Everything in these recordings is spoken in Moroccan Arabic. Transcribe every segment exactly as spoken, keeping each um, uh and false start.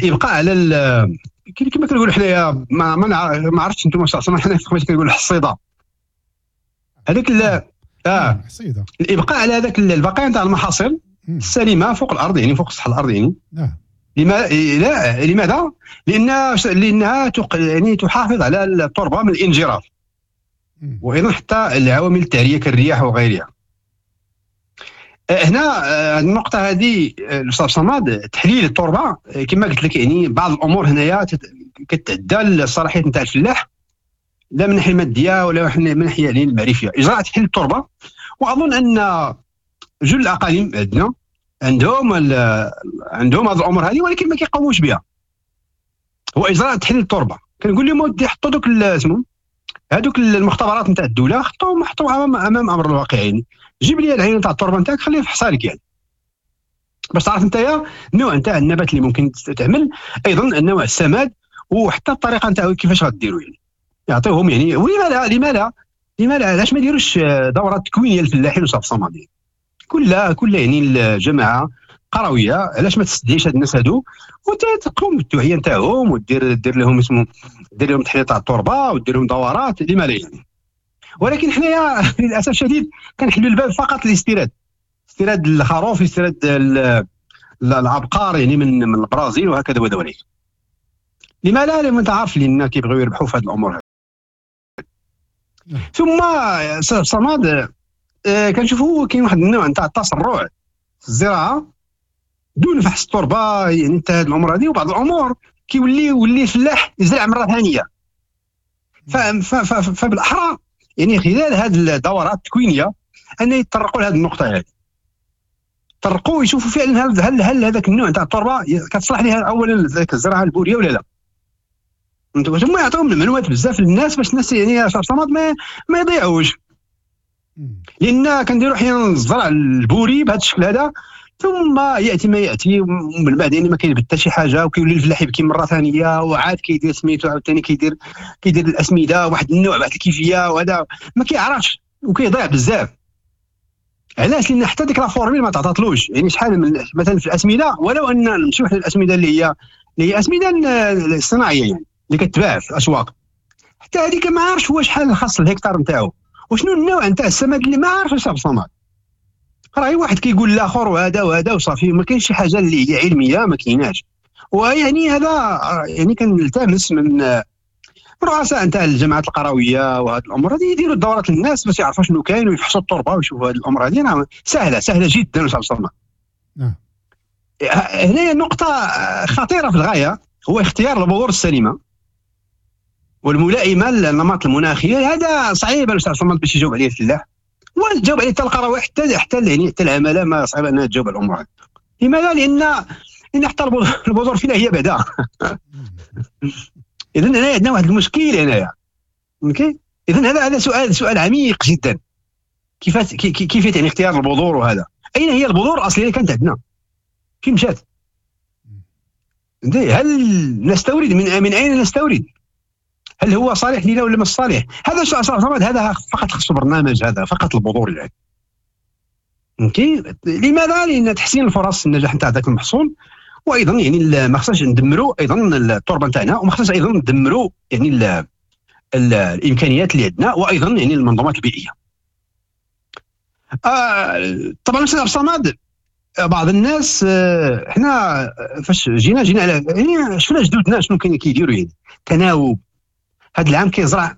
الابقاء على كما كنقولوا حنايا، ما ما عرفتش انتم حنا في كنقولوا الحصيده هذيك، اه حصيده، الابقاء على هذاك البقايا نتاع المحاصيل السليمة فوق الارض، يعني فوق سطح الارض يعني. نعم. لما لا لماذا؟ لان لانها تق... يعني تحافظ على التربة من الانجراف، وايضا حتى العوامل التعريه كالرياح وغيرها. هنا النقطة هذه الاستاذ صماد، تحليل التربة كما قلت لك، يعني بعض الامور هنايا كتعدى الصلاحيات نتاع الفلاح، لا من الناحية المادية ولا من الناحية يعني المعرفيه. اجراء تحليل التربه، واظن ان جل الاقاليم عندنا عندهم عندهم هذه الامور هذه، ولكن ما كيقوموش بها. هو اجراء تحليل التربة، كنقول لهم ودي حطوا دوك اسمهم هذوك المختبرات نتاع الدولة، حطوهم حطوهم امام امام امر الواقع. يعني جيب لي العينة نتاع التربة نتاعك، خليها في حصالك يعني باش تعرف انت النوع نتاع النبات اللي ممكن تعمل، ايضا النوع السماد، وحتى الطريقة نتاعو كيفاش غديروا يعني. يعطيوهم يعني. ولما لا لما لا لما لا علاش ما يديروش دورات تكوينيه للفلاحين وصاف الصمادين؟ كل كل يعني الجماعة قرويه علاش ما تستدعيش هاد الناس هادو وتقوم بالتوعية نتاعهم ودير دير لهم اسمه دير لهم تحليل تاع التربة ودير لهم دورات، لما لا يعني. ولكن حنايا للاسف الشديد كنحلوا الباب فقط للاستيراد، استيراد الخروف، استيراد العبقار يعني من من البرازيل وهكذا ودوليك. لما لا؟ لان انت عارف لان كيبغيو يربحوا في هذه الامور هذه. ثم صماد كنشوفوا كاين واحد النوع نتاع التسرع في الزراعة دون فحص التربة يعني انت هذه الامور هذه، وبعض الامور كيولي يولي الفلاح يزرع مرة ثانية. فبالاحرى يعني خلال هذه الدورات التكوينيه ان يتطرقوا لهذه النقطة هذه، طرقوا يشوفوا فعلا هل هل هل هذاك النوع تاع التربة كتصلح لها اولا ذاك الزراعة البوريه ولا لا. ثم يعطيهم المعلومات بزاف للناس باش الناس يعني صمد ما ما يضيعوش، لان كنديروا احيانا الزرع البوري بهذا الشكل هذا، ثم ياتي ما ياتي ومن بعد يعني ما كينبت حتى شي حاجة، وكيولي الفلاح يبكي مرة ثانية، وعاد كيدير سميتو عاوتاني كيدير كيدير الاسمده واحد النوع واحد الكيفية، وهذا ما كيعرفش وكيضيع بزاف. علاش؟ لان حتى ديك la formule ما تعطاتلوش. يعني شحال من مثلا في الاسمده، ولو ان نمشيو حنا الاسمده اللي هي اللي هي اسمده الصناعية يعني اللي كتباع في الاسواق، حتى هذيك ما عارفش هو شحال خاص الهكتار نتاعو وشنو النوع نتاع السماد اللي ما عارفش بصماد. راه واحد كيقول الاخر وهذا وهذا وصافي، ما كاينش شي حاجة اللي هي علمية، ما كايناش. ويعني هذا يعني كنلتمس من رؤساء نتاع الجماعات القرويه وهذه الامور هذه يديروا الدورات للناس باش يعرفوا شنو كاين ويفحصوا التربة ويشوفوا هذه الامور هذه. سهلة سهلة جدا استاذ صمد. نعم. هنا نقطة خطيرة في الغاية، هو اختيار البذور السليمة والملائمه للنمط المناخي. هذا صعيب الاستاذ صمد باش يجاوب عليه الفلاح، وتجاوب عليه حتى القروي، حتى حتى يعني حتى العمالة ما صعيب انها تجاوب على الامور هذه. لماذا؟ لان لان حتى البذور فينا هي بعدا. اذا هنا عندنا واحد المشكل هنايا. OK، اذا هذا هذا سؤال سؤال عميق جدا، كيف كيف يعني اختيار البذور، وهذا اين هي البذور الاصلية اللي كانت عندنا؟ فين مشات؟ هل نستورد؟ من من اين نستورد؟ هل هو صالح لنا ولا مش صالح؟ هذا صمد هذا فقط خصو برنامج، هذا فقط البذور اللي OK. لماذا؟ لان تحسين الفرص النجاح نتاع ذاك المحصول، وايضا يعني ما خصناش ندمروا ايضا التربة نتاعنا، وما خصناش ايضا ندمروا يعني ال ال الامكانيات اللي عندنا، وايضا يعني المنظومات البيئية. آه طبعا استاذ عبد الصمد، بعض الناس آه حنا فاش جينا جينا على يعني شفنا جدودنا شنو كانوا كيديروا، يعني تناوب. هذا العام كيزرع،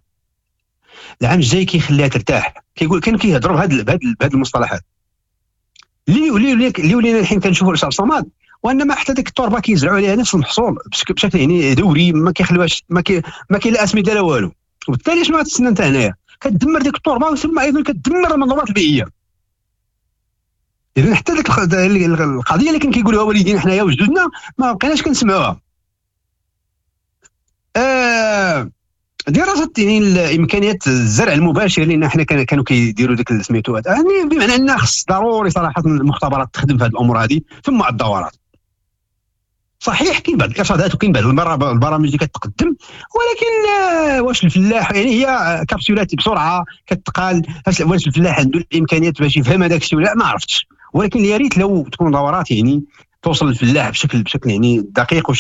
العام الجاي كيخليها ترتاح، كيقول كانوا كيهضروا بهاد بهاد بهاد المصطلحات اللي اللي اللي ولينا الحين كنشوفوا الاستاذ صمد، وانما حتى ديك التربة كيزرعوا عليها نفس المحصول بشكل يعني دوري، ما كيخلوهاش، ما كي ما كاين لا اسمده لا والو. وبالتالي شنو غتستنى انت هنايا؟ كتدمر ديك التربة، وثم ايضا كتدمر المنظومات البيئية. اذا حتى ديك القضية اللي كان كيقولوها والدينا حنايا وجدودنا ما بقيناش كنسمعوها. آه دراسة يعني الامكانيات الزرع المباشر، لان حنا كانوا كيديروا ديك سميتو، يعني بمعنى ان خص ضروري صراحة المختبرات تخدم في هذه الامور هذه، ثم الدورات. صحيح كاين بعض الارشادات وكاين بعض البرامج اللي كتقدم، ولكن واش الفلاح يعني هي كابسولات بسرعة كتقال، واش الفلاح عنده الامكانيات باش يفهم هذاك الشيء ولا لا؟ ما عرفتش. ولكن يا ريت لو تكون دورات يعني توصل للفلاح بشكل بشكل يعني دقيق.